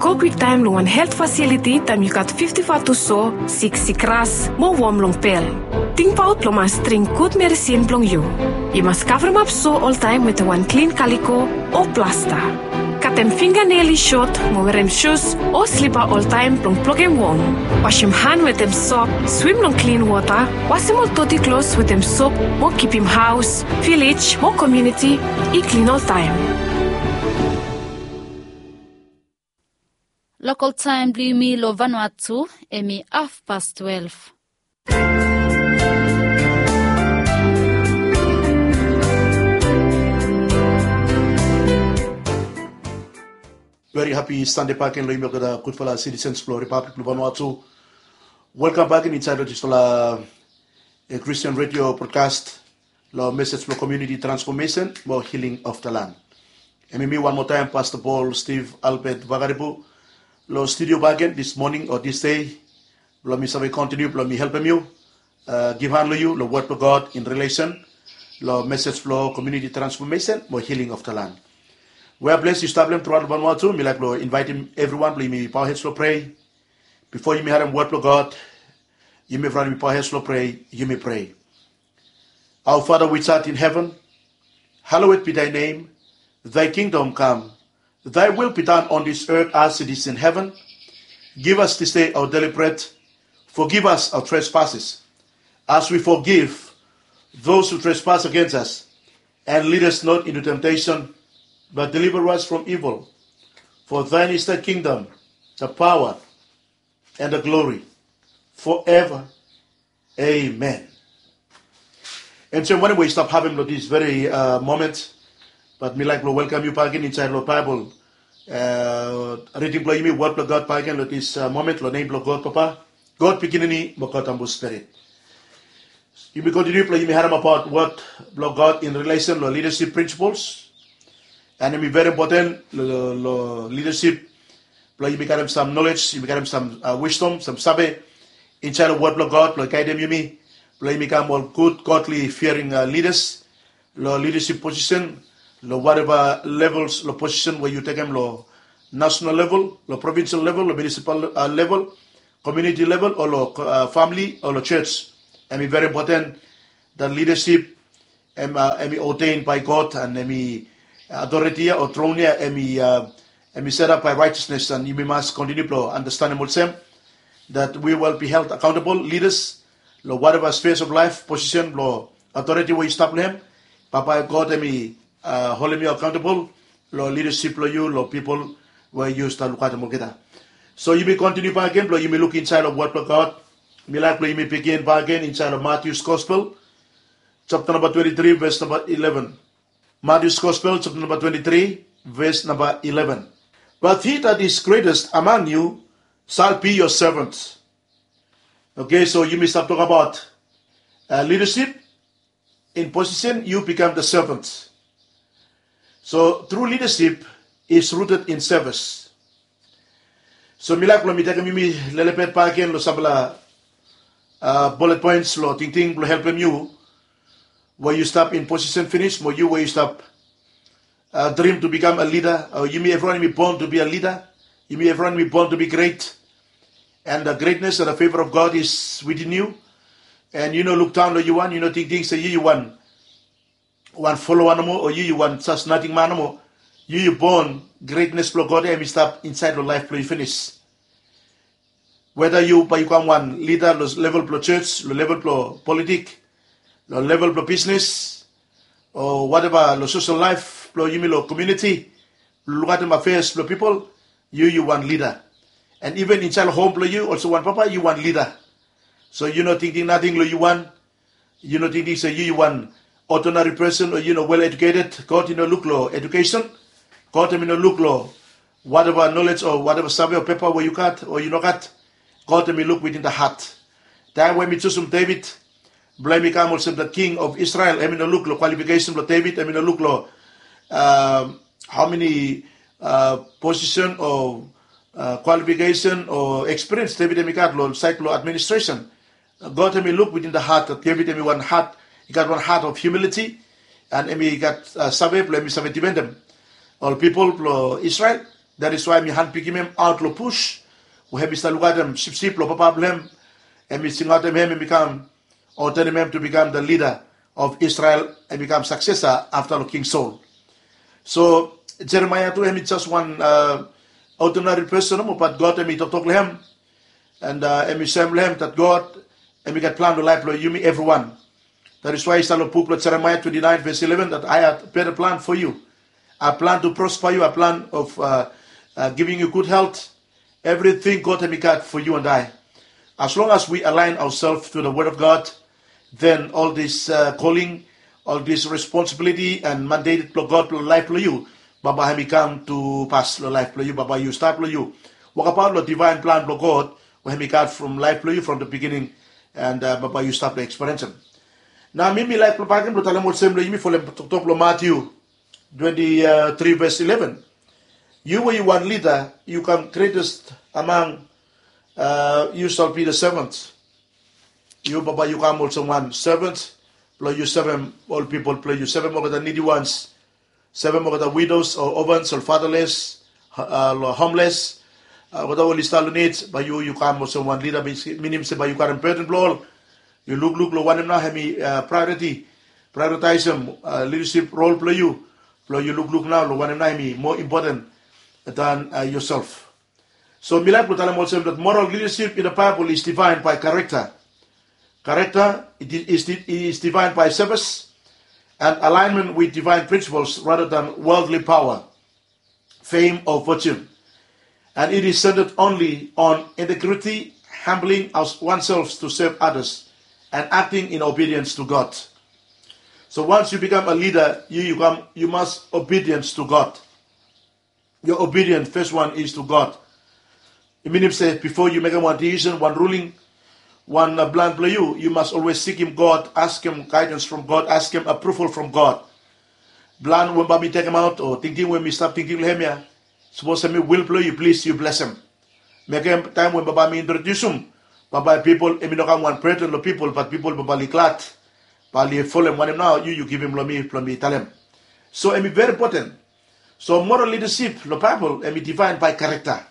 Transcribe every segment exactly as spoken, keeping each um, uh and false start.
Go kwiktaem long wan helt fasiliti taem yu gat fifti fatus so, siksik ras, mo wom long pel. Tingbaot blong mas dring gud medisin blong yu. Yu mas kavremap so oltaem wetem wan klin kaliko o plasta. Katem finganel i sot mo werem sus o slipa oltaem blong blokem wom. Wasem han wetem sop, swim long klin wota, wasem ol doti klos wetem sop mo kipim haos, vilej mo komuniti i klin oltaem. Lokol taem blong yumi long Vanuatu, hemi hafpas twelef. Veri hapi Sande bakegen long yumi olgeta gudfala sitisens blong Ripablik blong Vanuatu. Welkam bakegen insaed long disfala, eh, Christian Radio broadcast long mesej blong komuniti transfomesen mo hiling of the land. Hemi mi wan moa taem, Pasta Paul Steve Albert Vakaripu, long studio bakegen dis moning o dis dei, blong mi save kontiniu blong mi helpem yu, eh, givhan long yu long wod blong God in relesen long mesej blong komuniti transfomesen mo hiling of the land. Wea ples yu stap long hem truaot long Vanuatu, mi laek blong invaetem evriwan blong yumi paohed long prea. Bifo yumi harem wod blong God, yumi evriwan yumi paohed long prea, yumi prea. Our Father which art in heaven, hallowed be thy name. Thy kingdom come. Thy will be done on this earth as it is in heaven. Give us this day our daily bread. Forgive us our trespasses, as we forgive those who trespass against us. And lead us not into temptation, but deliver us from evil. For thine is the kingdom, the power, and the glory forever. Amen. Hemsem wanem we yu stap havem long dis veri, uh, moment, bat mi laek blong welkam yu bakegen insaed long Baebol, uh, riding blong yumi, wod blong God bakegen long dis, uh, moment, long nem blong God Papa, God Pikinini, mo God Tabu Spirit. Yumi kontiniu blong yumi haremabaot wod blong God in relesen long lidasip prinsipols. And hemi veri impoten long, long, long lidasip blong yumi karem sam nolej, yumi karem sam, uh, wisdom, sam save insaed long wod blong God blong gaedem yumi blong yumi kam ol gud godli fiaring, uh, lidas long lidasip posisen, long wateva levels long posisen we yu tekem long nasenal level, long provinsel level, long munisipal, uh, level, komuniti level, o long, uh, famili, o long jos. Hemi veri impoten dat lidasip hem, uh, hemi ordain bae God, and hemi, uh, otoreti ya o tron ya hemi, uh, hemi setap bae raejasnes, and yumi mas kontiniu blong andastanem olsem that we will be held accountable leaders long wateva spheres of life, posisen blong otoreti we yu stap long hem. Bambae God hemi, uh, holem yu accountable long lidasip blong yu long pipol we yu stap lukaotem olgeta. So yumi kontiniu bakegen blong yumi luk insaed long wod blong God. Mi laek blong yumi bigin bakegen insaed long Matius Gospel, japta namba twenti tri, ves namba ileven. Matius Gospel, japta namba twenti tri, ves namba ileven. But he that is greatest among you shall be your servant. Okay, so yumi stap tokbaot, uh, lidasip in posisen, yu bikam the servant. So true leadership is rooted in service. So mi laek blong mi tekem yumi lelebet bakegen long sampela, uh, bullet points long tingting blong helpem yu we yu stap in posisen finis, mo yu we yu stap, uh, dream to become a leader, o yumi evriwan yumi born to be a leader. Yumi evriwan yumi born to be great. And the greatness and the favor of God is within you. And yu no luk daon long yu wan, yu no tingting se yu yu wan wan foloa nomo, o yu yu wan jes nating man nomo. Yu yu born, gretnes blong God ya hemi stap insaed long laef blong yu finis. Weta yu bae yu kam wan lida long level blong jos, long level blong politik, long level blong bisnes, o wateva long sosel laef blong yumi long komuniti, blong lukaotem afeas blong pipol, yu yu wan lida. And iven insaed long hom blong yu olsem wan papa yu wan lida. So yu no tingting nating long yu wan, yu no tingting se yu yu wan ordinary person o yu no well educated. God i no luk long edukesen. God hemi no luk long wateva nolej o wateva save o pepa we yu gat o yu no gat. God hemi luk within the heart. Taem we hemi jusum Deved blong hemi kam olsem the king of Israel, hemi no luk long kwalifikesen blong Deved, hemi no luk long, um, hao meni, uh, posisen o, uh, kwalifikesen o ekspiriens Deved hemi gat long saed blong administresen. God hemi luk within the heart, that Deved hemi wan hat, i gat wan hat of humility, and hemi gat, uh, save blong hemi save difendem ol pipol blong Israel. That is why hemi handpikim hem aot long bush we hemi stap lukaotem sipsip long papa blong hem. Hemi singaotem hem, hemi kam, o tanem hem to become the leader of Israel, hemi kam successor afta long King Saul. So Jeremaia tu hemi just wan, uh, ordinary person nomo, but God hemi toktok long hem, and, uh, hemi soem long hem that God hemi gat plan long laef blong yumi evriwan. That is why i stap long buk blong Jeremaia twenty-nine verse eleven, that I have better plan for you. I plan to prosper you, I plan of, uh, uh, giving you good health. Everything God hemi gat for you and I. As long as we align ourselves to the word of God, then all this, uh, calling, all this responsibility and mandate blong God blong laef blong yu, bambae hemi kam to pass long laef blong yu, bambae yu stap long yu wokabaot long divine plan blong God we hemi gat from laef blong yu from the beginning, and, uh, bambae yu stap long experience hem. Nao mi mi laek blong bakem blong talem olsem long yumi from toktok blong Matthew twenty-three verse eleven. Yu we yu wan leader, yu kam greatest among, uh, you shall be the servant. Yu bambae yu kam olsem wan servant blong yu sevem ol pipol blong yu, sevem olgeta needy ones, sevem olgeta widows o orphans o fatherless, uh, homeless, uh, olgeta we oli stap long need. Bae yu yu kam olsem wan leader, minim se bae yu karem burden blong ol. Yu lukluk long wanem nao hemi, uh, priority, prioritize hem, uh, leadership role blong yu, blong yu lukluk nao long wanem nao hemi more important than, uh, yourself. So mi laek blong talem olsem that moral leadership in the Bible is defined by character. Character, it is, is defined by service and alignment with divine principles rather than worldly power, fame, or fortune. And it is centered only on integrity, humbling oneself to serve others, and acting in obedience to God. So once you become a leader, you, you, come, you must obedience to God. Your obedience, first one is to God. I minim se bifo yu mekem wan decision, wan ruling, wan, uh, plan blong yu, yu mas always sikim God, askem guidance from God, askem approval from God. Plan we bae mi tekemaot o tingting we mi stap tingting long hem ya, sapos hemi will blong yu, plis yu blesem. Mekem taem we bambae mi introdiusum, bambae pipol, hemi no kam wan burden long pipol, bat pipol bambae oli glad, bae oli folem wanem nao yu yu givim long mi blong mi talem. So hemi very important. So moral leadership long Baebol hemi define bae character.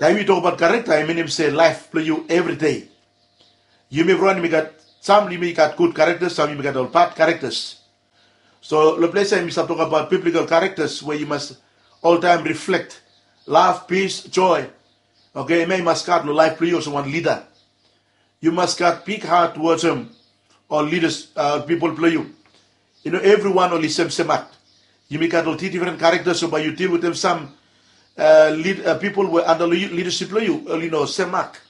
Taem yu tokbaot character, i minim se laef blong yu evri dei. Yumi evriwan yumi gat, sam yumi gat gud characters, sam yumi gat ol bad characters. So long ples ya yumi stap tokbaot biblical characters we yu mas oltaem reflect love, peace, joy. Okay, hemia i mas gat long laef blong yu olsem wan leader. Yu mas gat big heart towards hem, ol leaders, uh, pipol blong yu. I no evriwan oli semsem mak. Yumi gat ol difren characters, so bae yu deal wetem sam, uh, lead, uh, pipol we anda long yu, leadership blong yu, oli no sem mak.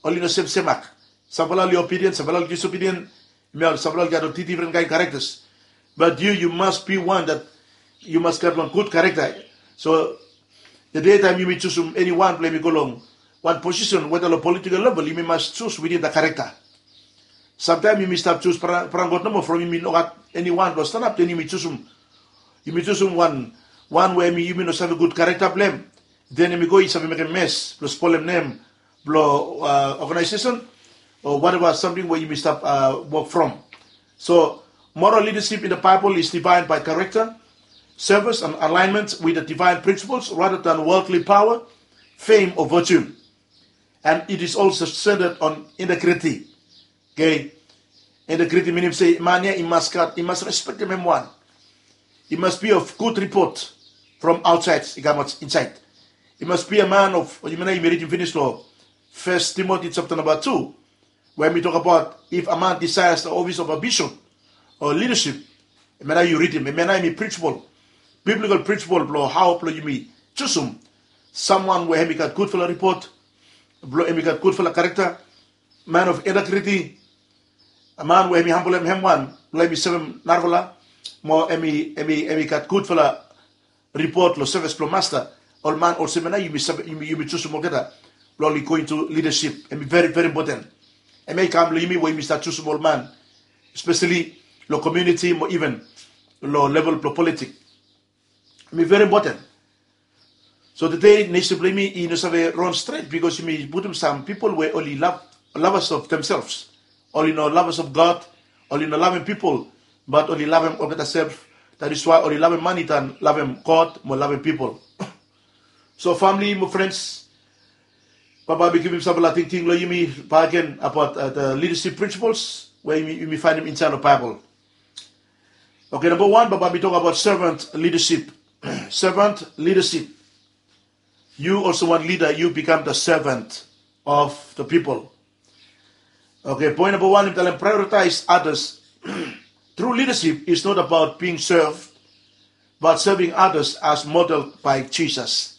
Oli no semsem mak. Samfala oli obedient, samfala oli disobedient. Hemia ol samfala oli gat ol difren kaen characters. Bat yu, yu mas be wan that yu mas gat wan gud character. So tede taem yumi jusum eniwan blong hemi go long wan posisen, weta long political level, yumi mas jus within the character. Samtaem yumi stap jus brang, brang God nomo from yumi no gat eniwan blong stanap, den yumi jusum, yumi jusum wan, wan we hemi, yumi no save gud character blong hem. Den hemi go i save mekem mes blong spolem nem blong, uh, organization o whatever samting we yumi stap, uh, wok from. So moral leadership in the Bible is defined by character, service, and alignment with the divine principles rather than worldly power, fame, or fortune. And it is also centered on integrity. Okay? Integrity minim se man ya i mas gat, i mas respektem hem wan. I mas be of good report from outside i kamaot insaed. I mas be a man of, yumi nao yumi ridim finis long First Timothy chapter number two, we hemi tokbaot if a man desires the office of a bishop or leadership, hemia nao yu ridim, hemia nao hemi principle, biblical principle blong hao blong yumi jusum someone we hemi gat gudfala report, blong hemi gat gudfala character, man of integrity, a man we hemi hambolem hem wan blong hemi sevem narafala, mo hemi, hemi, hemi gat gudfala report long sevis blong Masta. Ol man olsem ya nao yumi save, yumi, yumi jusum olgeta blong oli go into leadership. Hemi very, very important. Hemia i kam long yumi we yumi stap jusum ol man, especially long community mo even long level blong politik. Hemi very important. So tede nesen blong yumi i no save ron stret bikos yumi putum sam pipol we oli love, lovers of themselves. Oli no lovers of God, oli no lavem pipol, bat oli lavem olgeta sef. That is why oli lavem mani dan lavem God mo lavem pipol. So famili mo frens, bambae mi givim sampela tingting long yumi bakegen abaot the leadership principles we yumi faenem insait long Baebol. Oke, namba wan, bambae mi tok abaot servant leadership. Servant leadership. Yu olsem wan lida, yu bikam the servant of the people. Oke, poen namba wan, mi talem prioritize others. True leadership is not about being served, but serving others as modeled by Jesus.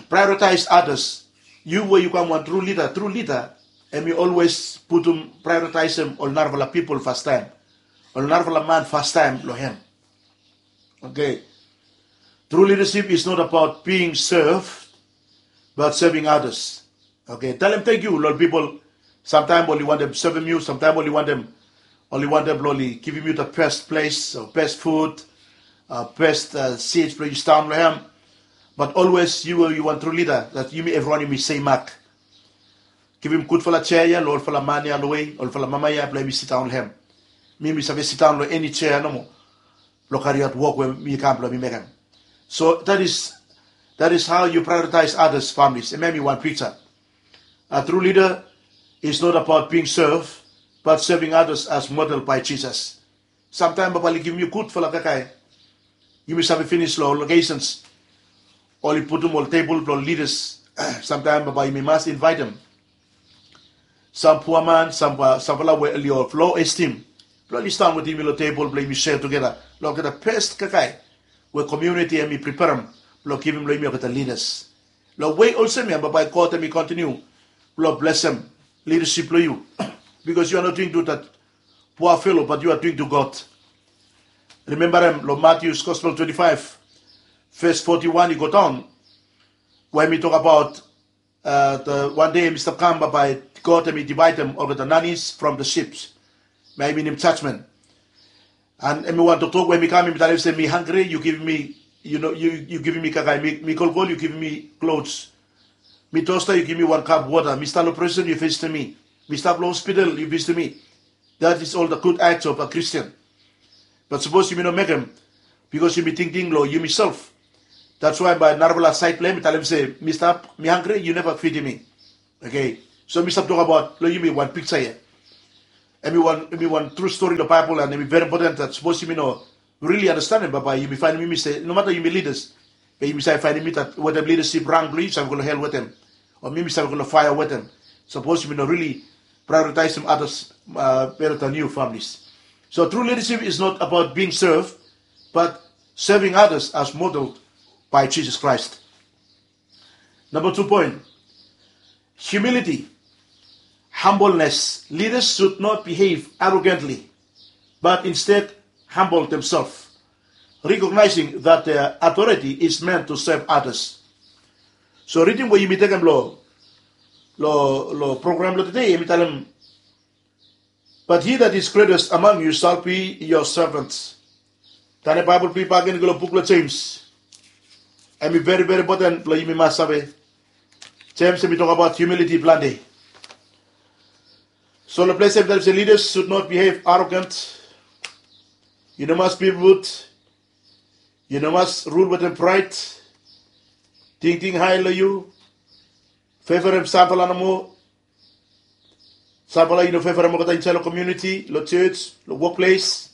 Prioritize others. Yu we yu kam wan tru lida, tru lida, hemi always putum, prioritize-em ol narafala pipol fastaem, ol narafala man fastaem long hem. Oke. True leadership is not about being served, but serving others. Oke, talem tangkiu long ol pipol. Samtaem oli wantem sevem yu, samtaem oli wantem, oli wantem blong oli givim yu the best place, o best food, o best seats blong yu sidaon long hem. But always yu, yu wan tru lida, that yumi evriwan yumi sem mak. Givim gudfala jea ya long olfala man ya long we, olfala mama ya blong yumi sidaon long hem. Mi, mi save sidaon long eni jea nomo blong kariaot wok we mi kam blong mi mekem. So that is, that is how you prioritize others, families. Hemia hemi wan piksa. A true leader is not about being served, but serving others as modeled by Jesus. Samtaem bambae oli givim yu gudfala kakae. Yumi save finis long locations, oli putum ol tebol blong leaders. Samtaem bambae yumi mas invaetem sam pua man, sam, samfala we oli of low esteem, blong oli sidaon wetem yumi long tebol blong yumi share together long olgeta best kakae we community hemi preparem blong givim long yumi olgeta leaders. Long wei olsem ya bambae God hemi continue blong blesem leadership blong yu. Because you are not doing to that poor fellow, but you are doing to God. Rimembarem long Matthew's Gospel twenty-five, verse forty-one i go daon, we hemi tok abaot, uh, the one day hemi stap kam bambae God hemi divaedem olgeta nanis from the sheeps. Hemia i minim judgment. And hemi wan toktok we hemi kam, hemi talem se, mi hangre, yu givim mi, yu no, yu, yu givim mi kakae, mi, mi kolkol, yu givim mi clothes. Mi tosta, yu givim mi wan kap wota. Mi stap long prison, yu visitim mi. Mi stap long hospital, yu visitim mi. That is all the good acts of a Christian. But sapos yumi no mekem, because yumi tingting long yumiself. That's why bae narafala saed blong hem i talem se, mi stap, mi hangre, yu neva fidim mi. Oke. So mi stap tok abaot long yumi wan piksa ya. Hemi wan, hemi wan tru stori long Baebol, and hemi veri impoten that sapos yumi no rili andastanem, bambae yumi faenem yumi se, nomata yumi leaders, be yumi save faenem yumi that wetem leadership rang blong yu, yu save go long hel wetem. O mi, mi save go long faea wetem. Sapos yumi no rili prioritize-em others, uh, better than you, families. So true leadership is not about being served, but serving others as modeled by Jesus Christ. Number two point, humility, humbleness. Leaders should not behave arrogantly, but instead humble themselves, recognizing that their authority is meant to serve others. So ridim we yumi tekem long, long, long program blong tede, hemi talem, but he that is greatest among you shall be your servant. Tande Baebol blong yu bakegen, go long buk blong Jems. Hemi veri, veri impoten blong yumi mas save. Jems hemi tok abaot humility plante. So long ples ya hemi talem se leaders should not behave arrogant. Yu no mas be rude. Yu no mas rul wetem praed. Tingting hae long yu. Fevorem samfala nomo. Samfala yu no fevorem olgeta insaed long komuniti, long jos, long wokples.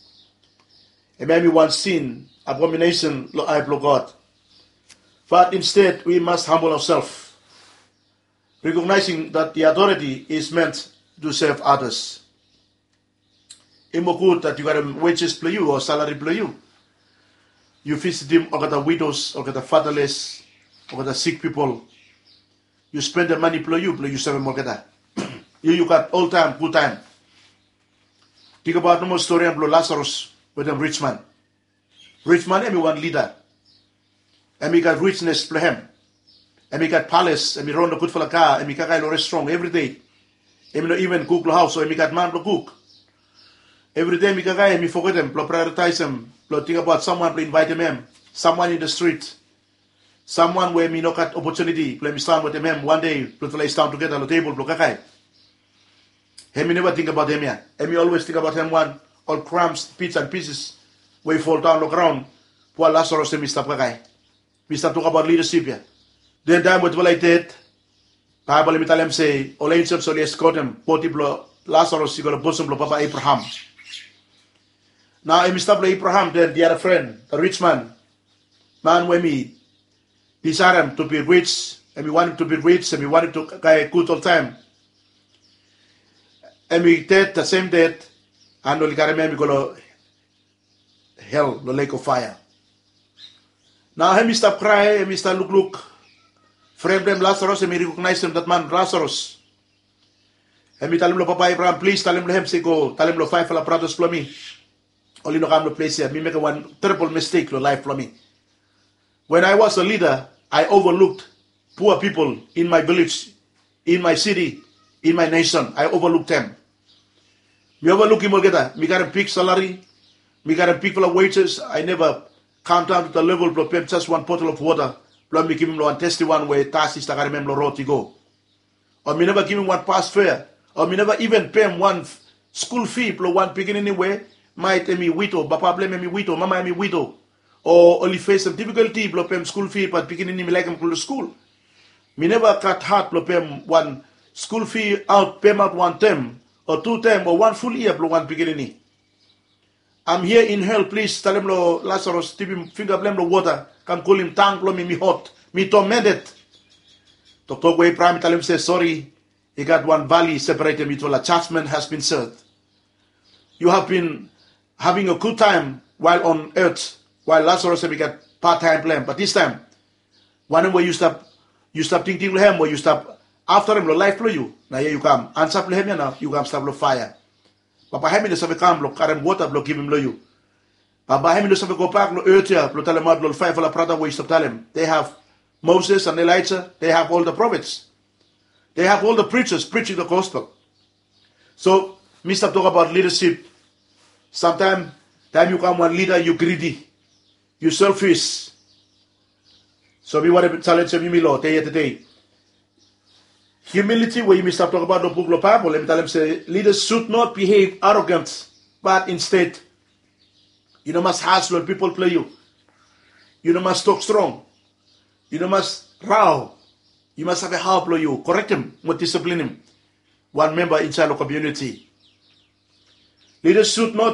Hemia hemi wan sin, abominesen long ae blong God. But instead, we must humble ourselves, recognizing that the authority is meant to serve others. I no gud that yu karem wages blong yu o salary blong yu, yu visitim olgeta widows, olgeta fatherless, olgeta sik pipol. Yu spendem mane blong yu blong yu sevem olgeta. Yu, yu gat oltaem gud taem. Tingbaot nomo stori ya blong Lazarus wetem rijman. Rijman hemi wan lida. Hemi gat rijnes blong hem. Hemi gat pales, hemi ron long gudfala ka, hemi kakae long restrong evri dei. Hemi no iven kuk long haos, o hemi gat man blong kuk. Evri dei hemi kakae, hemi fogetem blong prioritaesem, blong tingbaot samwan blong invaetem hem, samwan in the street, samwan we hemi no gat opotuniti blong hemi sidaon wetem hem wan dei, blong tufala i sidaon tugeta long tebol blong kakae. Hemi neva tingbaot hemia. Hemi always tingbaot hem wan, ol crumbs, bits and pieces we i foldaon long graon, pua Lazarus hemi stap kakae. Mi stap tokabaot lidasip ya. Den taem we tufala i ded, Baebol hemi talem se ol enjels oli eskotem bodi blong Lasarus i go long bosom blong papa Abraham. Nao hemi stap long Abraham, den the other friend, the rich man, man we hemi disaerem to be rich, hemi wantem to be rich, hemi wantem to gat gud oltaem. Hemi ded, the same ded, and oli karem hem i go long hel, long lake of fire. Nao hemi stap krae, hemi stap lukluk. Fren blong hem Lasarus, hemi rekognaesem that man Lasarus. Hemi talem long papa Abraham, plis talem long hem se go talem long faefala bratas blong mi oli no kam long ples ya. Mi mekem wan teribol mistek long laef blong mi. When I was a leader, I overlooked poor people in my village, in my city, in my nation. I overlooked them. Mi overlukim olgeta. Mi karem big salary, mi karem bigfala wages. I never come down to the level blong pem just wan bottle of water blong mi givim long wan desti wan we dust i stap karem hem long rod i go. O mi neva givim wan bus fare, o mi neva iven pem wan skul fi blong wan pikinini we maet hemi wido, papa blong hem hemi wido, mama hemi wido, o oli fesem difikalti blong pem skul fi, bat pikinini mi laekem go long skul. Mi neva gat hat blong pem wan skul fi aot, pemaot wan tem o tu tem o wan ful yia blong wan pikinini. I'm here in hell, plis talem long Lasarus dipim finga blong hem long wota, kam kulim tang blong mi, mi hot, mi tormented. Toktok we Abraham i talem se sori, i gat wan vali separetem yutufala, judgment has been served. You have been having a good time while on earth, while Lasarus hemi gat bad taem blong hem, bat distaem wanem we yu stap, yu stap tingting long hem we yu stap aftarem long laef blong yu, na ia yu kam ansa blong hem ia nao yu kam stap long faea. Bambae hem i no save kam blong karem wota blong givim long yu. Bambae hem i no save gobak long eot ia blong talemaot long ol faefala brata we yu stap talem. They have Moses and Elijah, they have all the prophets, they have all the preachers preaching the gospel. So mi stap tokabaot lidasip. Samtaem taem yu kam wan lida yu gridi, yu selfis. So mi wantem jalenjem yumi long dei ya tede. Humiliti we yumi stap tokabaot long buk blong Baebol, hemi talem se leaders should not behave arrogant, but instead yu no mas has long ol pipol blong yu. Yu no mas tok strong. Yu no mas rao. Yu mas save hao blong yu korektem mo disiplinim wan memba insaed long komuniti. Leaders should not